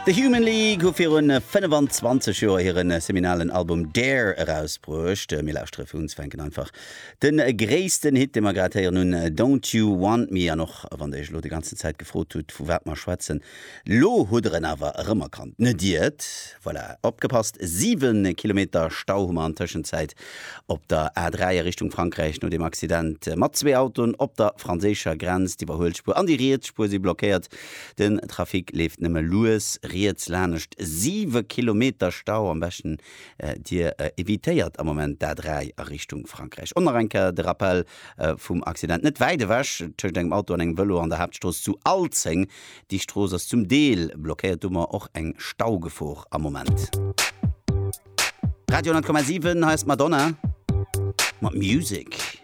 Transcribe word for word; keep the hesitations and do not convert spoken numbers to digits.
The Human League hu virun fënnefan zwanzeg Joer hiren seminalen Album Dare erausbruecht. Mir lauschtere fir unzefänken einfach de gréissten Hit, dee mer grad héieren hunn, Don't You Want Me. An och wann der iech elo déi ganzen Zäit gefrot hutt, vu wat mer schwätzen, lo hutt der en awer erëmerkannt, net iert? Voilà, opgepasst, siwe Kilometer Stau hu mer an Tëschenzäit op der A dräi a Richtung Frankräich no dem Accident mat zwee Autoen op der franséischer Grenz. D'Iwwerhuelspuer an déi riets Spuer si blockéiert. Den Trafic leeft nëmme lues riets lanescht. Siwe Kilometer Stau, am beschten Dir evitéiert am Moment d'A dräi a Richtung Frankräich. Och nach eng Kéier de Rappel vum Accident net wäit ewech tëscht engem Auto an engem Vëlo an der Haaptstrooss zu Alzeng. Déi Strooss ass zum Deel blockéiert, do hu mer och eng Staugefor am Moment. Radio honnert Komma siwen, hei ass d'Madonna mat Music.